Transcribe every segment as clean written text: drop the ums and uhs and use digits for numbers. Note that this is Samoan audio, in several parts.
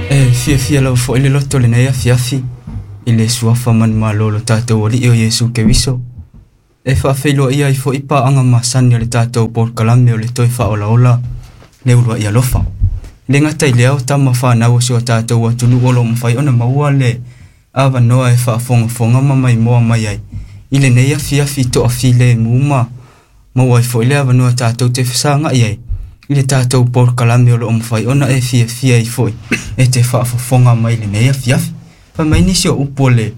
E fiafia lava fo'i le loto lenei afiafi i le suafa manumalo o lo tatou Alii o Iesu Keriso. E faafeiloai ai fo'i paaga masani o le tatou polokalame o le toe faaolaola le uluai alofa. E le gata i lea o tama fanau o si o tatou atunuu o lo o mafai ona maua le avanoa e faafogafoga ma maimoa mai ai i lenei afiafi toafilemu ma maua ai foi le avanoa tatou te fesagai ai i le tatou polokalame o lo o mafai ona e fiafia ai foi e te faafofoga mai lenei afiafi. Fai mai nisi o upu o le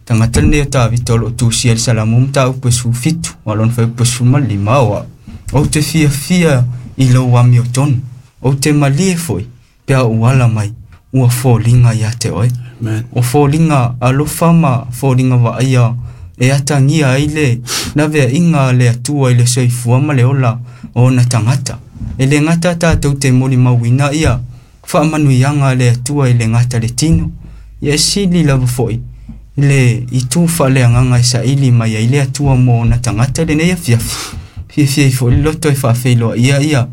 tagata lenei o Tavita o lo o tusia i le Salamu mataupu e 17, a o lona fuaiupu e 15 o au. Ou te fiafia i lou amiotonu, ou te malie foi pe a ou ala mai, ua foliga ia te oe. Amen. O foliga alofa ma foliga vaaia e atagia ai le laveaiga a le Atua i le soifua ma le ola o ona tagata. E le gata tatou te molimauina ia faamanuiaga a le Atua i le gata le tino, ia e sili lava foi le itu faaleagaga e saili mai ai le Atua mo ona tagata i lenei afiafi. Fiafia ai foi le loto e faafeiloaia ia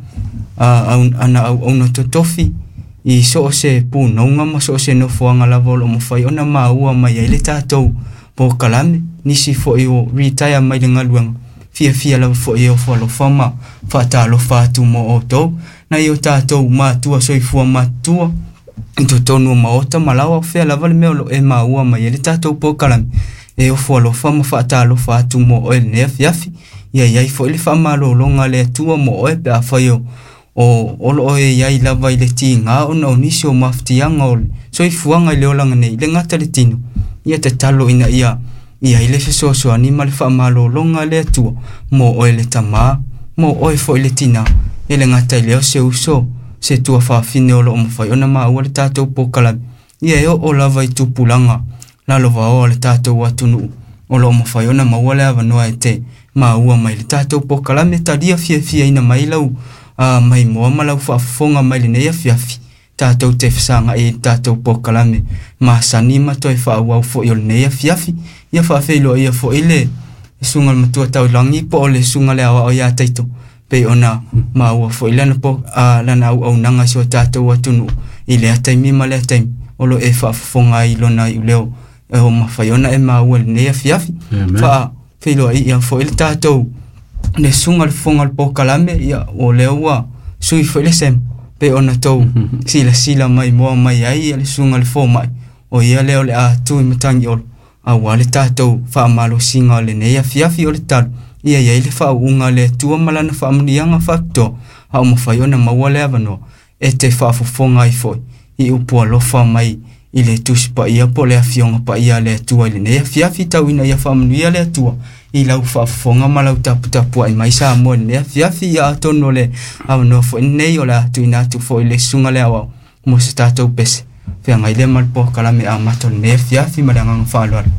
ana auauna totofi i so o se punouga ma so o se nofoaga lava o lo o mafai ona maua mai ai le tatou polokalame. Nisi foi o retire mai le galuega, fiafia lava foi e ofo alofa ma faatalofa atu mo outou. Nai o tatou matua soifua matutua i totonu o maota ma laoa, o fea lava le mea o lo o e maua mai ai le tatou polokalame, e ofo alofa ma faatalofa atu mo oe lenei afiafi. Ia i ai foi le faamalologa a le Atua mo oe pe afai o lo o e i ai lava i le tiga ona o nisi o mafatiaga o le soifuaga i le olaga nei, le gata le tino. Ia tatalo ina ia i ai le fesoasoani ma le faamalologa a le Atua mo oe le tamā, mo oe foi le tinā. E le gata i lea o se uso, se tuafafine o lo o mafai ona maua le tatou polokalame, ia e oo lava i tupulaga lalovaoa o le tatou atunuu o lo o mafai ona maua le avanoa e te maua mai le tatou polokalame. Talia fiafiaina mai lau maimoa ma lau faafofoga mai lenei afiafi, tatou te fesagai i le tatou polokalame masani ma toe faaauau foi o lenei afiafi. Ia faafeiloaia foi le susuga i le Matua Taulagi po o le susuga le aoao ia Taito, pei ona maua foi lana lana auaunaga i si o tatou atunuu i lea taimi ma lea taimi o lo o e faafofoga ai i lona iuleo e o mafai ona e maua i lenei afiafi. Faafeiloai foi le tatou le susuga le fofoga o le polokalame, ia o lea ua sui foi le sema pei ona tou silasila mai moa mai ai le susuga le fomai, o ia lea o le a tu i Matagiolo aua le tatou faamalosiga o lenei afiafi. O le talo ia i ai le faauuga a le Atua ma lana faamanuiaga faapitoa, a o mafai ona maua le avanoa e te faafofoga ai foi i upu alofa mai i le Tusi Paia po o le Afioga Paia a le Atua i lenei afiafi. Tau ina ia faamanuia le Atua i lau faafofoga ma lau taputapuai mai Samoa i lenei afiafi. Ia atonu o le avanoa foi lenei o le a tuuina atu foi i le susuga le aoao mo se tatou pese feagai lea ma le polokalame amata o lenei afiafi ma le agaga faaaloalo.